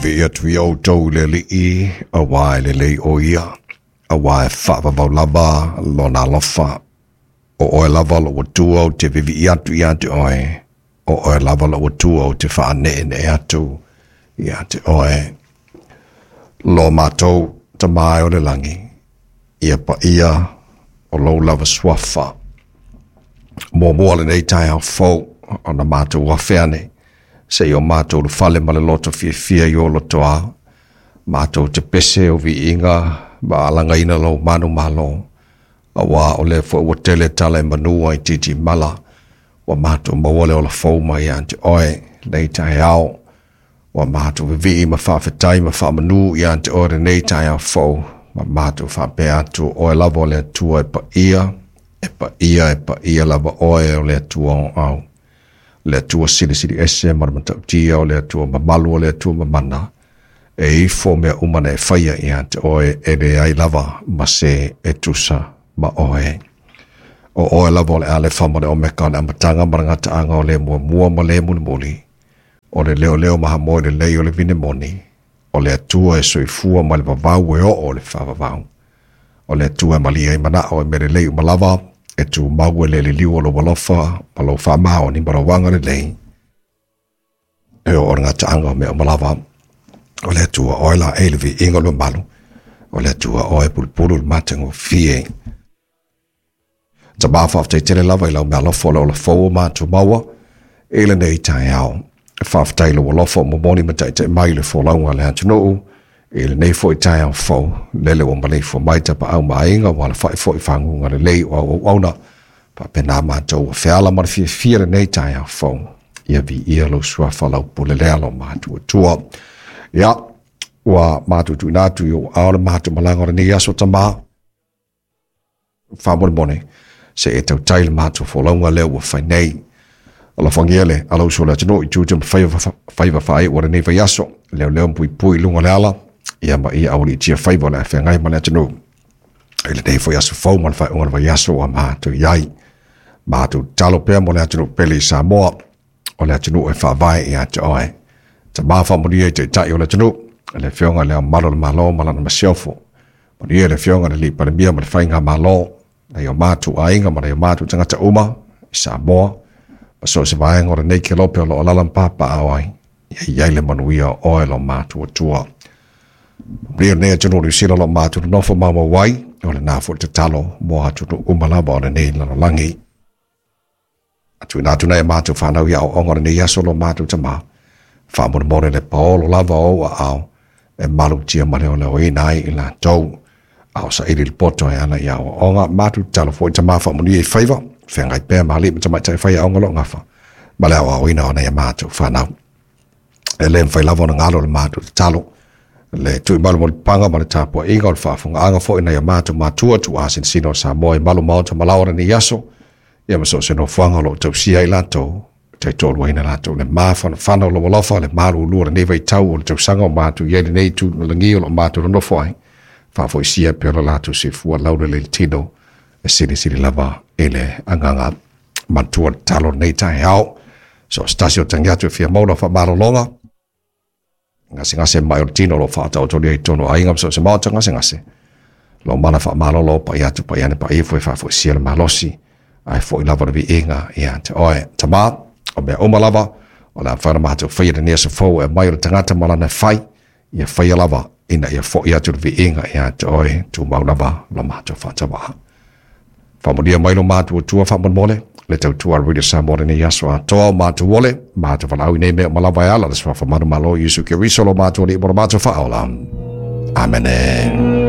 Vivii atu ia outou i le Alii, auā e lelei o ia, auā e faavavau lava lona alofa. O oe lava lou Atua ou te vivii atu ia te oe, o oe lava lou Atua ou te faaneenee atu ia te oe. Lo matou Tama e o le lagi, ia paia o lou lava suafa. Muamua lenei taeao fou, ona matou afe ane, se i o matou ulufale ma le loto fiafia i ou lotoa, matou te pese o viiga ma alagaina lou manumalo, auā o lea foi ua tele tala e manu ai titimala, ua matou maua le ola fou mai ia te oe lenei taeao. Ua matou vivii ma faafetai ma faamanu ia te oe lenei taeao fou, ma matou faapea atu, oe lava o le Atua e paia, e paia, e paia lava oe o le Atua o au. Le Atua silisili ese ma le matautia, o le Atua mamalu, o le Atua mamana, e ifo mea uma na e faia ia te oe, e leai lava ma se e tusa ma oe. O oe lava o le Alefa ma le Omeka, o le amataga ma le gataaga, o le muamua ma le mulimuli, o le leoleo mahamoe lelei o le vine moni, o le Atua e soifua mai le vavau e oo le faavavau, o le Atua e malie ai manao e mea lelei uma lava, e tumau e le liliu o lou alofa ma lou faamaoni ma lou agalelei, e oo le gataaga o mea uma lava. O le Atua oe la e le viiga o le mamalu, o le Atua oe e pulupulu le matagofie. Tama, faafetai tele lava i lau meaalofa o le ola fou o matou maua i lenei taeao. Faafetai i lou alofa o momoli ma taitai mai le folauga a le atunuu i lenei foi taeao fou, lele ua maleifua mai tapaau ma aiga ua alafai foi faguga lelei o au auauna. Faapena matou ua feala ma le fiafia lenei taeao fou. Ia viia lou suafa lau pule lea lo matou Atua. Ia, ua matou tuuina atu i ou ao le matou malaga o lenei aso Tama. Faamolemole, se e tautai le matou folauga lea ua fai nei. Alofagia le alausu o le atunuu i tiute ma faiva faaiu o lenei vaiaso, leoleo ma puipui i luga o le ala, ia ma ia aualiitia faiva o le a feagai ma le atunuu. I lenei foi aso fou ma le faaiuga o le vaiaso ua matou i ai. Matou tatalo pea mo le atunuu pele i Samoa, o le atunuu e faavae ia te oe. Tama, faamanuia i taitai o le atunuu, le Afioga i Le Ao Mamalu o le Malo ma lana Masiofo. Manuia le Afioga i le Alii Palemia ma le Faigamalo, nai o matou aiga ma nai o matou tagata uma i Samoa, ma so o se vaega o lenei kelope o lo o alaala ma papaaao ai, ia i ai le manuia o oe lo matou Atua. Manuia lenei atunuu o Niu Sila o lo o matou nonofo maumau ai, o lena foi le tatalo mo atunuu uma lava o lenei lalolagi. A tuuina atu nei a matou fanau i aoaoga o lenei aso lo matou Tama, faamolemole le paolo lava o ou aao e malutia ma leoleoina ai i latou. A o saili le poto e ala i aoaoga, matou tatalo foi Tama faamanuia i faiva, feagai pea ma alii ma tamaitai faiaoga o lo o gafa ma le aoaoina o nai a matou fanau. E le mafai lava ona galo le matou tatalo, le tuimalo mo le paga ma le tapuaiga o le faafofogaaga foi nai a matou matua tuuasinasina o Samoa i malu maota ma laoa lenei aso, ia ma so o se nofoaga o lo o tausia ai latou, taitoaluaina latou le mafanafana o lou alofa, le malulu o lenei vaitau o le tausaga o matou i ai lenei itu lagi o lo o matou nonofo ai, faafoisia pea lo latou soifua laulelei le tino e silisili lava i le agaga matua tatalo lenei taeao. So o se tasi o tangi atu e fia maua lau faamalologa, gasegase mai o le tino o lo o faataotolia i totonu o aiga ma so o se maota gasegase. Lou mala faamalolo pai atu pai ane pai ifo e faafoisia le malosi, ae foi lava le viiga ia te oe. Tama, o mea uma lava, o le a mafai ona matou faia lenei aso fou e aumai o le tagata ma lana fai, ia faia lava ina ia foi atu le viiga ia te oe, tumau lava lo matou faatauaa. Faamanuia mai lo matou Atua faamolemole, le tautua a Radio Samoa lenei aso atoa o matou ole, matou valaau i nei mea uma lava e ala le suafa manumalo o Iesu Keriso lo matou Alii ma lo matou Faaola. Amene.